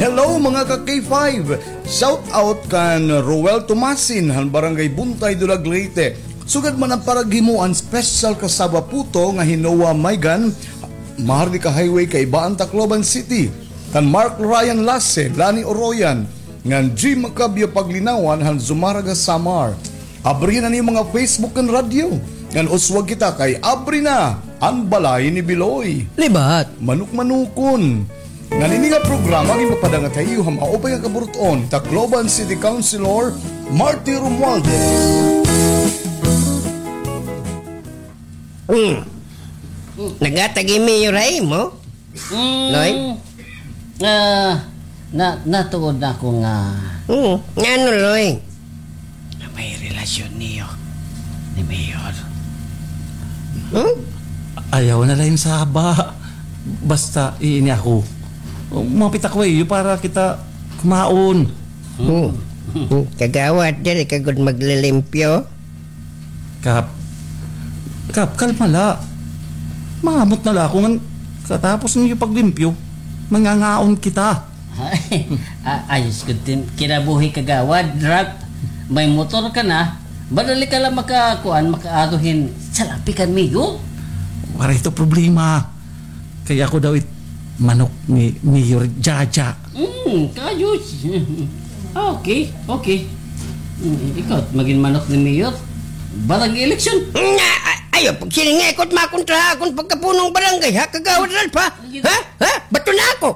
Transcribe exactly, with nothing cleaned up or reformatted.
Hello, mga ka K five! Shout out kan Roel Tomasin han Barangay Buntay, Dulag, Leyte. Sugad man an paraghimo an special kasaba puto nga Hinoa Maygan, Maharlika Highway, Kaibaan, Tacloban City. Kan Mark Ryan Lase, Lani Oroyan, ngan G Macabio Paglinawan han Zumarraga, Samar. Abri na an iyo mga Facebook ngan radyo. Ngan uswag kita kay abri na an balay ni Biloy. Libat. Manukmanukon. Ngan ini nga programa ginpapadangat ha iyo han maupay nga kaburut-on, Tacloban City Councilor Marty Romualdez. Hmm. Naghatag hi Mayor ha imo? Mm, Loy? Ah, na, natuod na ako nga Hmm. Ngano, Loy? Nga may relasyon niyo ni Mayor. Hmm? Ayaw na la hin saba. Basta iini ako. Mapit ako ha iyo para kita kumaon. Hmm. Hmm. Kagawad, diri ka gud maglilimpyo? Kap. Kap, kalma la. Maamot na la ako ngan katapos niyo paglimpyo, mangangaon kita. Ay, a-, ayos gud it im kinabuhi, Kagawad Ralph. May motor ka na, madali ka la makakuan, makaadto hin salapi kan Mayor. Waray ito problema. Kay ako daw it manok ni Mayor Jaja. Hmm, kaayos. Okay, okay. Hmm, ikaw, magin manok ni Mayor. Barangay election. Nga, a-, ayaw pagsiring nga ikaw it makontra ha akon pagkapunong barangay, ha, Kagawad Ralph, ha? Ha? Ha? Bato na ako.